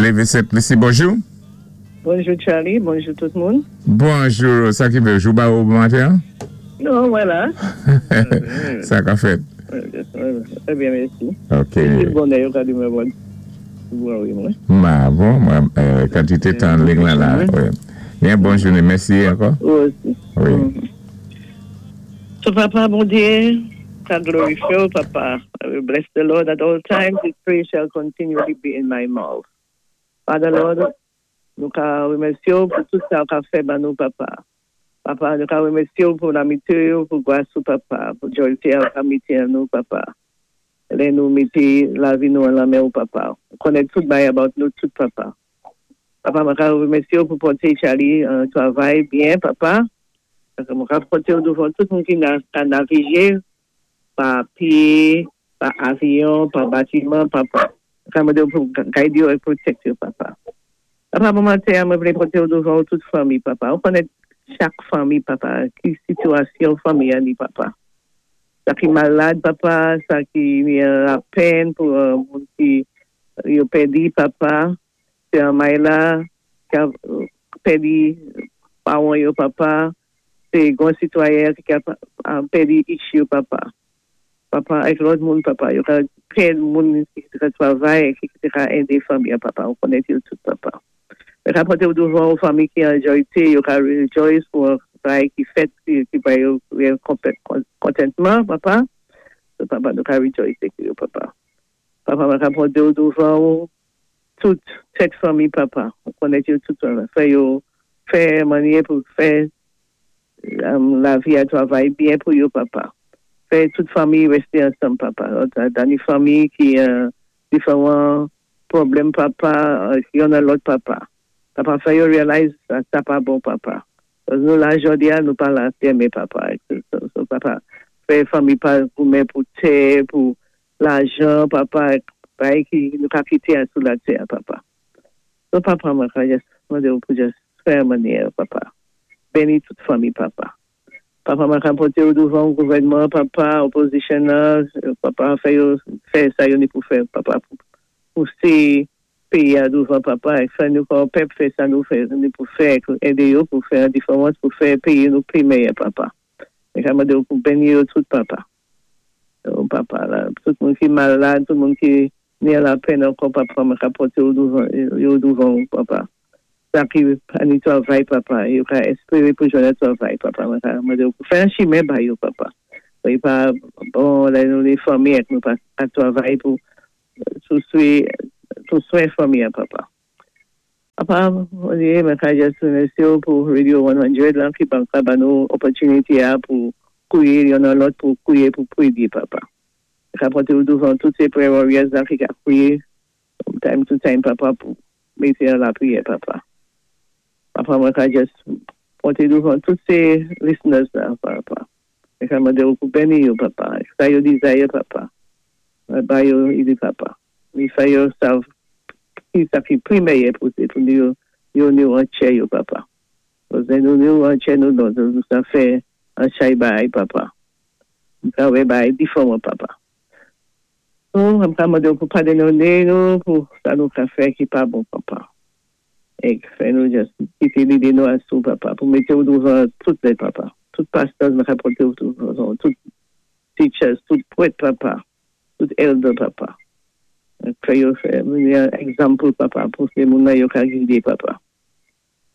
Lévé Sent Lisi, bonjou. Bonjou Charlie, bonjou tout moun. Bonjou, sa ki fè jou ba ou bon maten an? Non, mwen la. Sa ka fèt? Trè byen, mèsi. Ok. Ti bonè yo ka di mwen bon. Bon wi mwen. Ma bon, mwen kantite tan ling lan la. Byen, bon jounen, mèsi ankò. Ou osi. Wi. So papa Bondye, ka glorifye w papa. I will bless the Lord at all times, his praise shall continually be in my mouth. Father Lord, nou ka remèsye w pou tout sa w ka fè ban nou papa. Papa, nou ka remèsye w pou lamitye w, pou gras ou papa, pou jòlte a ou ka mete an nou papa. Lè nou mete lavi nou an lan men w papa. Ou konnen tout bagay about nou tout papa. Papa mwen ka remèsye w pou pòte Charlie an travay byen papa. Mwen ka pòte w douvan tout moun ki ka navige pa pye, pa avyon, pa batiman papa. Mwen ka mande w pou guide yo e protect yo papa. Papa bon maten an mwen vle pote w douvan w tout fanmi papa. Ou konnen chak fanmi papa ki sitiyasyon fanmi an ni papa. Sa ki malad papa, sa ki ni lapenn pou moun ki yo pèdi papa. Sè Mayla ki ap pèdi paran yo papa. Se gon sitwayen ki ap pèdi ich yo papa. Papa ak lòt moun papa. Yo ka pèd moun ki te ka travay, ki te ka ede fanmi an papa. Ou konnen yo tout papa. Mwen ka pote ou douvan ou fanmi ki an jòyte, yo ka rejoice pou bagay ki fèt ki bay yo kontentman papa. So papa nou ka rejoice ak yo papa. Papa mwen ka pote ou douvan ou tout tèt fanmi papa. Ou konnen yo tout papa. Fè yo fè manyè pou fè lavi a travay byen pou yo papa. Fè tout fanmi reste ansanm papa. Dani fanmi ki diferan pwoblèm papa, yon nan lòt papa. Papa fè yo realize sa pa bon papa. Nou la jodi a nou pa la demen papa. So papa fè fanmi pa goumen pou tè, pou lajan papa, bagay ki nou ka kite a sou latè a papa. So papa mwen ka just mande ou pou just fè manyè papa. Beni tout fanmi papa. Papa mwen ka pote ou douvan gouvènman papa, opposition nan, papa fè yo fè sa yo ni pou fè papa pou pouse peyi a douvan papa e fè nou kòm pèp fè sa nou fè ni pou fè ede yo pou fè an diferans pou fè peyi nou pi meyè papa. Mwen ka mande ou pou beni yo tout papa. Oh papa la, tout moun ki malad, tout moun ki ni lapenn ankò papa, mwen ka pote ou douvan yo douvan ou papa. Sa ki pa ni travay papa, yo ka espere pou jwenn travay papa, mwen ka mande ou pou fè an chimen ba yo papa. Li pa bon lè nou ni fanmi ak nou pa ka travay pou sou swen fanmi an papa. Papa, Bondye, mwen ka just remèsye ou pou Radio 100 lan ki ban ka ban nou opportunity a pou kouye yon nan lòt pou kouye pou priye papa. Mwen ka pote ou douvan tout se prayer warriors lan ki ka kouye from time to time papa pou mete an lapriyè papa. Papa mwen ka just pote douvan tout se listeners la papa. Mwen ka mande ou pou beni yo papa. Sa yo desire papa. Ba yo ili papa. Li fè yo sav ki sa ki pi meyè pou se pou yo yo nou an chè yo papa. Paske nou nou an chè nou nou nou sa fè an chay bay papa. Nou ka wè bay diferan papa. So, mwen ka mande ou pou padone nou pou sa nou ka fè ki pa bon papa. E fè nou just kite lide nou asou papa. Pou mete ou douvan tout lè papa. Tout pastors mwen ka pote ou douvan. Tout teachers, tout prèt papa. Tout elder papa. Fè yo fè yon example papa pou se moun nan yo ka gide papa.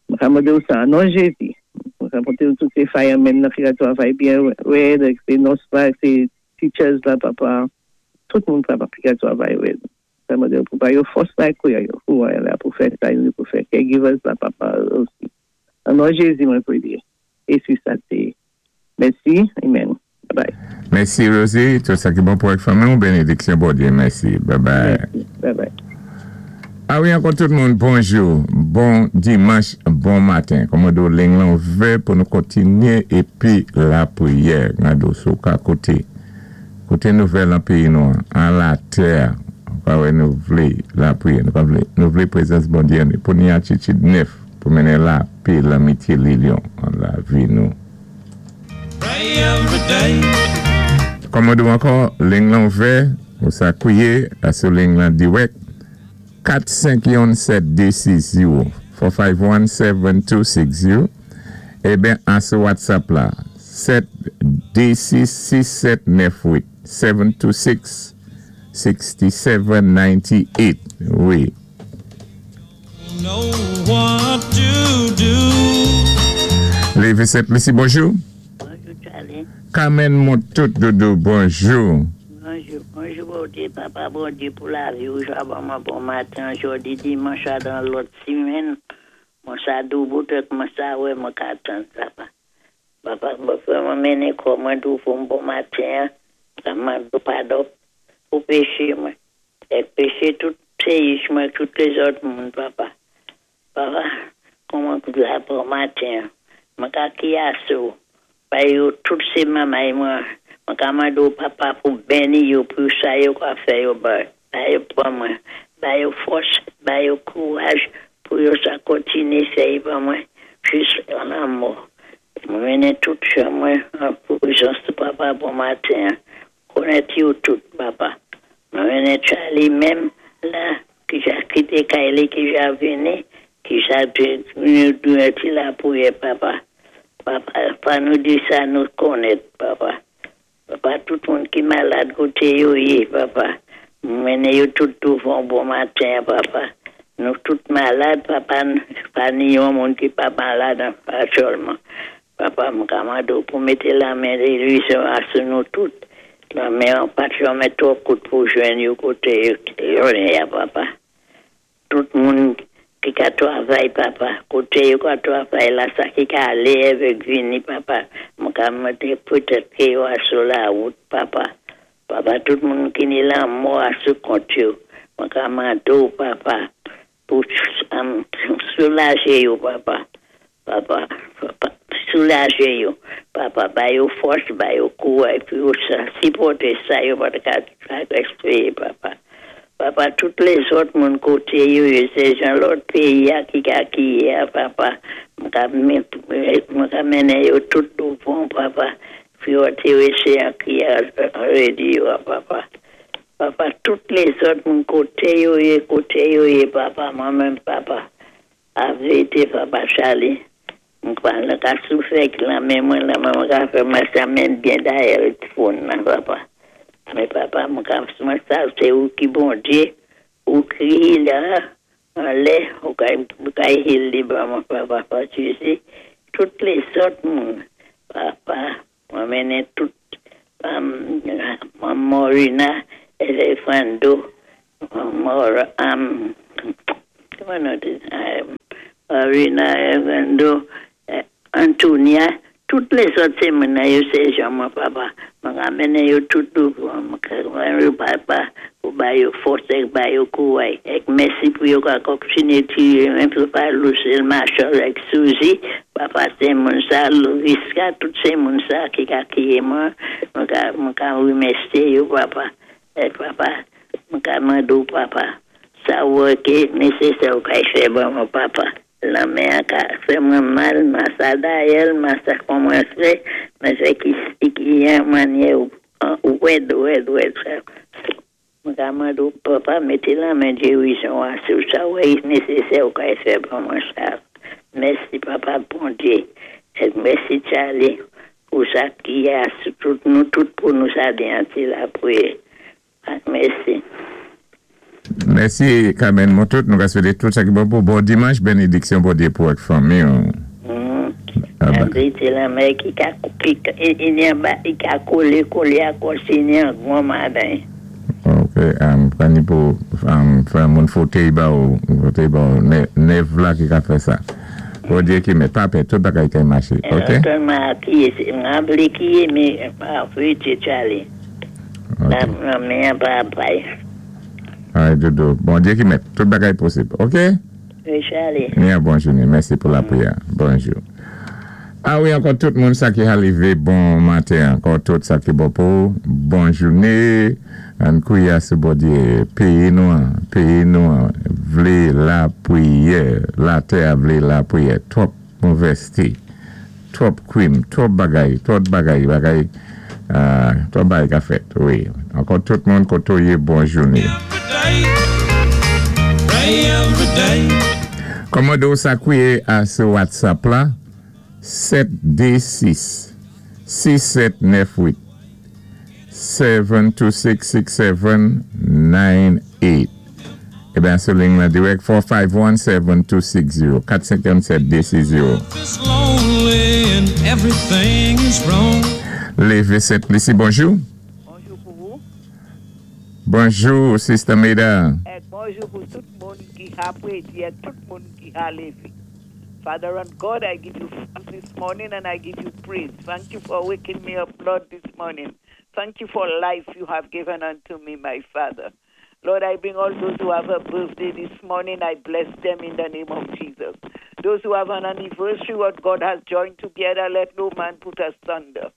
Mwen ka mande ou sa, non Jezi. Mwen ka pote ou tout se firemen nan ki ka travay byen rèd, se nurse la, se teachers la papa. Tout moun papa ki ka travay rèd. Mwen ka mande ou pou ba yo fòs la kouya yo. Pou la pou fè sa yo pou fè caregivers la papa osi. An non Jezi mwen priye. E si sa te. Mèsi. Amen. Bye bye. Mèsi Rosie, tout sa ki bon pou ak fanmi ou, benediksyon Bondye, mèsi. Bye bye. Mèsi. Bye bye. A wi ankò tout moun, bonjou, bon dimanch, bon maten. Kòman do ling lan ouvè pou nou kontinye epi lapriyè. Gade w sou ka kote. Kote nouvèl nan peyi nou an, an latè a. Ou ka wè nou vle lapriyè, nou pa vle, nou vle prezans Bondye pou ni atitid nèf pou mennen lapè, lanmitye, lilyon an lavi nou. Kòman do ankò, ling lan ouvè, ou sa kouye, sou ling lan dirèk. 4 5 yonn 7 2 6 ziwo, 4 5 1 7 2 6 0, eben asou WhatsApp la, 7 2 6 6 7 9 8, 7 2 6 67 98, wi. Lévi Sent Lisi, bonjou. Bonjou Charlie. Carmen Montout Doudou, bonjou. Bonjou, bonjou Bondye, papa Bondye pou lavi ou ja ban mwen bon maten jodi dimanch la dan lòt simèn mwen sa doubout ak mwen sa wè mwen ka tann papa. Papa mwen fè mwen mennen kò mwen douvan bon maten an mwen mande w padon pou peche mwen ak peche tout peyis mwen ak tout lezòt moun papa. Papa kòman k la bon maten an mwen ka kiyase w bay yo tout se manmay mwen mwen ka mande w papa pou beni yo pou sa yo ka fè yo bay yo ban mwen ba yo fòs ba yo kouraj pou yo sa kontinye fè y ban mwen jis a lanmò mwen mennen tout jan mwen an prezans papa bon maten an konèt yo tout papa mwen mennen Charly menm la ki ja kité kay li ki ja vini ki ja dwe ti lapriyè papa papa pa nou di sa nou konèt papa papa tout moun ki malad koté yo yé papa mennen yo tout douvan w bon maten an papa nou tout malad papa pa ni yon moun ki pa malad aktyèlman papa m ka mande w pou mété lamen gerizon an sou nou tout lamen an pat janmè twò kout pou jwenn yo koté yo yé a papa tout moun ki ka twavay papa koté yo ka twavay la sa ki ka alé avèk vini papa mwen ka mande petèt ké yo asou lawout papa papa tout moun ki ni lanmò asou kont yo mwen ka mande w papa pou soulajé yo papa papa papa soulajé yo papa ba yo fòs ba yo kouray pou yo sa sipòté sa yo pat ka espéwé papa papa tout lèzòt moun koté yo yé sé jan lòt péyi a ki ka kiyé a papa mwen ka mennen yo tout douvan w papa pou yo entéwésé an kiyé radyo a papa papa tout lèzòt moun koté yo yé koté yo yé papa mwen menm papa lavérité papa Charlie mwen pa ka soufri ak lanmen mwen lanmen mwen ka fè mwen sa menm byen dayè phone nan papa men papa mwen ka mwen sav sé ou ki Bondye ou ki healer anlè ou ka heal li ban mwen papa paske tout lèzòt moun papa mwen mennen tout Morina Elefando Mora kòman Morina Elefando Antonia tout lèzòt sé moun nan yo sé jan mwen papa mwen ka mennen yo tout douvan mwen papa pou ba yo fòs ak ba yo kouray ak mèsi pou yo ka kontinyé tiwé mwen pou pa Lucille Marshall ak Suzy papa sé moun sa Lovisca tout sé moun sa ki ka kiyé mwen mwen ka remèsyé yo papa ak papa mwen ka mande w papa sa wè ké nésésè ou ka fè ban mwen papa lanmen an ka fè mwen mal masa dayè l masa kòmansé men fè ki ki yon mannyè wèd wèd wèd sa mwen ka mande w papa mété lanmen gerizon an sou sa wè nésésè ou ka fè ban mwen sa mèsi papa Bondye ak mèsi Charlie pou sa ki a sou tout nou tout pou nou sa byen ti lapriyè ak mèsi. Mèsi Carmen Montout, nou ka swété tout sa ki bon pou bon dimanch, bénédiksyon Bondye pou ak fanmi ou. Laverite lanmè ki ka ki ka kolé kolé a kòsi ni an gwan madan. Ok, pran ni pou fè moun fotèy ba ou, fotèy ba ou, nèv la ki ka fè sa. Bondye ki mèt, pa pè, tout bagay ka maché, ok? Mwen akiye, mwen vlé kiye men laverite Charlie. Lanmen an pa bay. Ay dodo, Bondye ki mèt, tout bagay posib, ok? Wi Charlie. Ni yon bon jounen, mèsi pou lapriyè, bonjou. A wi ankò tout moun sa ki halive bon maten ankò tout sa ki bon pou bon jounen ann kwiye sou Bondye peyi nou an peyi nou an vlé lapriyè latè a vlé lapriyè twòp movèste twòp krim twòp bagay twòp bagay bagay twòp bagay ka fèt wi ankò tout moun kote w ye bon jounen. day. Kòmandé ou sa kwiyé a sou WhatsApp la 7 2 6 6 7 9 8 7 2 6 6 7 9 8. Ében sou ling la dirèk 451 7260 457 260. Life is lonely and everything is wrong. Lévé Sent Lisi, bonjou. Bonjou pou wou. Bonjou, Sister Meda. Èk bonjou pou tout moun ki ka pwédi èk tout moun ki ka lévé. Father and God, I give you thanks this morning and I give you praise. Thank you for waking me up, Lord, this morning. Thank you for life you have given unto me, my Father. Lord, I bring all those who have a birthday this morning. I bless them in the name of Jesus. Those who have an anniversary, what God has joined together, let no man put asunder.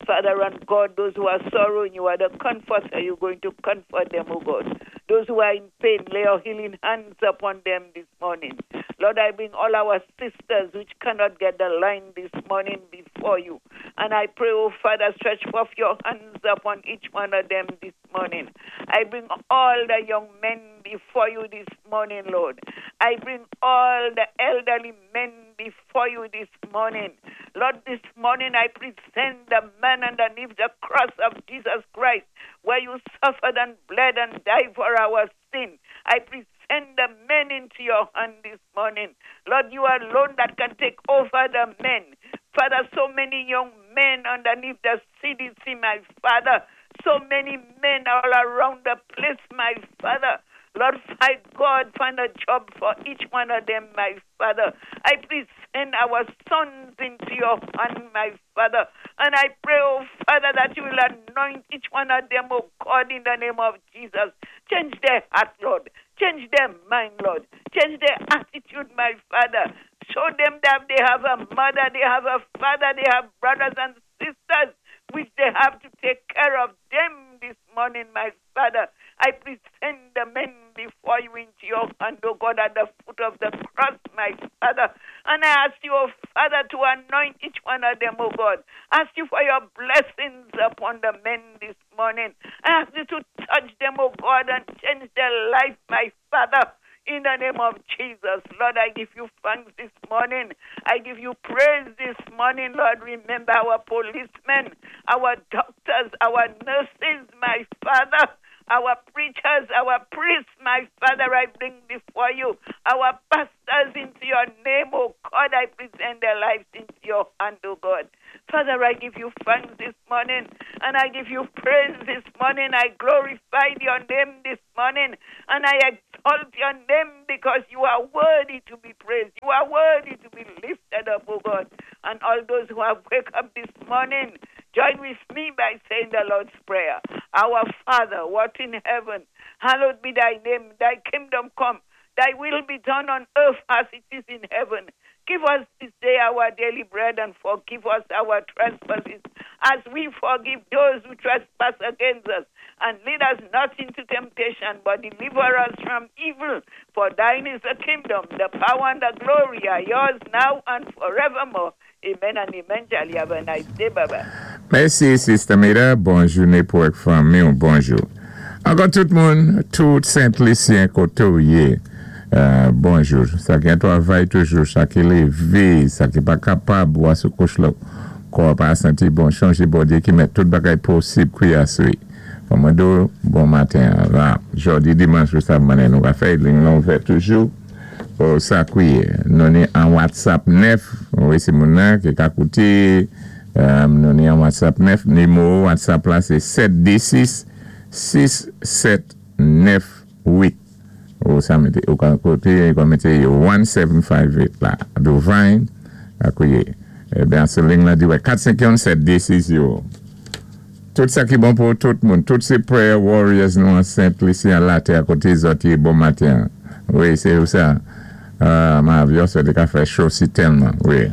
Father and God, those who are sorrowing, you are the comforter. You're going to comfort them, oh God. Those who are in pain, lay your healing hands upon them this morning. Lord, I bring all our sisters which cannot get the line this morning before you. And I pray, oh Father, stretch forth your hands upon each one of them this morning. I bring all the young men before you this morning, Lord. I bring all the elderly men before you this morning. Lord, this morning I present the man underneath the cross of Jesus Christ, where you suffered and bled and died for our sin. I present the men into your hand this morning. Lord, you alone that can take over the men. Father, so many young men underneath the CDC, my Father. So many men all around the place, my Father. Lord, my God, find a job for each one of them, my Father. I present our sons into your hand, my Father. And I pray, oh Father, that you will anoint each one of them, oh God, in the name of Jesus. Change their heart, Lord. Change their mind, Lord. Change their attitude, my Father. Show them that they have a mother, they have a father, they have brothers and sisters, which they have to take care of them this morning, my Father. I present the men before you into your hand, O God, at the foot of the cross, my Father. And I ask you, O Father, to anoint each one of them, O God. Ask you for your blessings upon the men this morning. I ask you to touch them, O God, and change their life, my Father. In the name of Jesus, Lord, I give you thanks this morning. I give you praise this morning, Lord. Remember our policemen, our doctors, our nurses, my Father, our preachers, our priests, my Father, I bring before you. Our pastors into your name, oh God, I present their lives into your hand, oh God. Father, I give you thanks this morning and I give you praise this morning. I glorify your name this morning and I exalt your name because you are worthy to be praised. You are worthy to be lifted up, oh God. And all those who have woke up this morning, join with me by saying the Lord's Prayer. Our Father, who art in heaven, hallowed be thy name. Thy kingdom come. Thy will be done on earth as it is in heaven. Give us this day our daily bread and forgive us our trespasses as we forgive those who trespass against us. And lead us not into temptation, but deliver us from evil. For thine is the kingdom, the power, and the glory are yours now and forevermore. Amen and amen. Charlie, have a nice day. Bye bye. Mèsi, Sister Meda. Bon jouné pou èk fanmi ou bonjou. Ankò tout moun, tout Sent Lisyen koté ou yé. Bonjou. Sa ki an twavay toujou, sa ki lévé, sa ki pa kapab, ou sou kouch la, kò pa santi bon, chonjé Bondyé ki mèt tout bagay posib kouya swi. Kòmando, bon maten. La, jòdi dimanch, ou sav mannè nou ka fè, ling lan ouvè toujou. Pou sa kwiyé. Nou ni an WhatsApp 9, wi si moun nan ki ka kouté, nou ni an WhatsApp 9, nimewo WhatsApp la sé 726 6 7 9 8. Ou sa mété, ou ka kouté, ou ka mété 1758 la, douvan, a kwiyé. Ében, sou ling la di wè 451 7 2 6 0. Tout sa ki bon pou tout moun, tout sé prayer warriors nou an Sent Lisi an latè a koté zòt yé bon maten. Wi, sé ou sa. Ma avyon sa té ka fè cho si tèlman, wi.